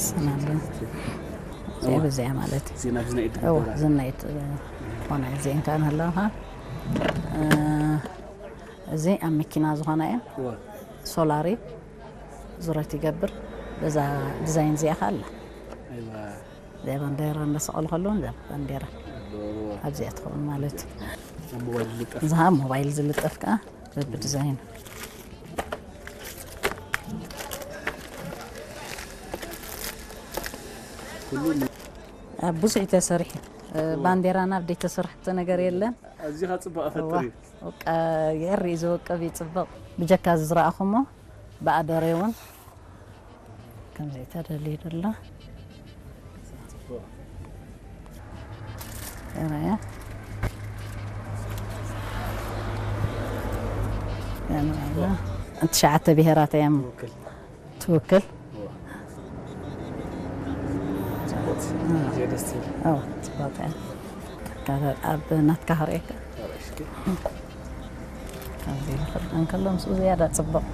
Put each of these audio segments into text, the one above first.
ሰናለ እዚኣ በዚኣ ማለት እዩ። ዜና ብዝና ኢድ እዎ ትግበራ። ዝናይት ኾነ እዚ እንታይ ኣለኻ? እዚ ኣብ መኪና ዝኾነ እየ። እዎ። ሶላሪ ዙረት ይገብር። በዛ ዲዛይን እዚኣ ኸ ኣላ። ኣይዋ። እዚኣ ባንዴራ እንዳሰቐሉ ከለዉ እዛ ባንዴራ ኣብዚኣ ትኸውን ማለት እዩ። ኣብ ሞባይል ዝልጠፍ። እዛ ሞባይል ዝልጠፍ ከዓ በብዲዛይን ኣብ ብዙሕ እዩ ተሰሪሑ። ባንዴራና ኣብ ዘይተሰርሐቶ ነገር የለን። ኣዚኻ ፅባቐ ፈጥር እዩ። በቃ የርኢ ዝወቅብ ይፅብቕ። ብጀካ ዝዝረኣኹሞ ብኣደሬ እውን ከምዚ ተደልዩ ደሎ። ርኣያ። ትሽዓተ ብሄራት እዮም ውክል። ትውክል። ደስ ትብል። ኦ፣ ፅቡቅ እያ። ካብ ኣብ ናትካ ክርእየካ። ኣረሽኪ። ከምዚ ይኽእል እንከሎ ምስኡ ዝያዳ ፅቡቅ።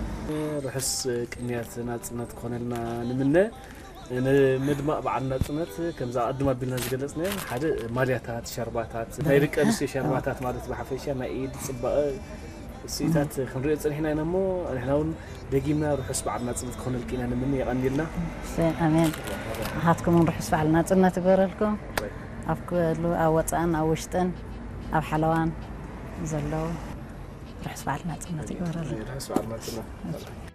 ርሑስ ቅንያት ናፅነት ክኾነልና ንምነ። ንምድማቕ በዓል ናፅነት ከምዛ ቅድም ኣቢልና ዝገለፅናዮ ሓደ ማልያታት፣ ሸርባታት፣ ናይ ደቂ ኣንስትዮ ሸርባታት ማለት ብሓፈሻ ናይ ኢድ ፅባቐ ስኢታት ክንሪኦ ፀኒሕና ኢና እሞ ንሕና እውን ደጊምና ርሑስ በዓል ናፅነት ክኾነልኪ ኢና ንምነ። የቐንየልና። ኣሜን። ንሓትኩም እውን ርሑስ በዓል ናፅነት ይግበረልኩም። ኣብ ክሉ ኣብ ወፃእን ኣብ ውሽጥን ኣብ ሓለዋን ዘለዉ ርሑስ በዓል ናፅነት ይግበረልና። ርሑስ በዓል ናፅነት።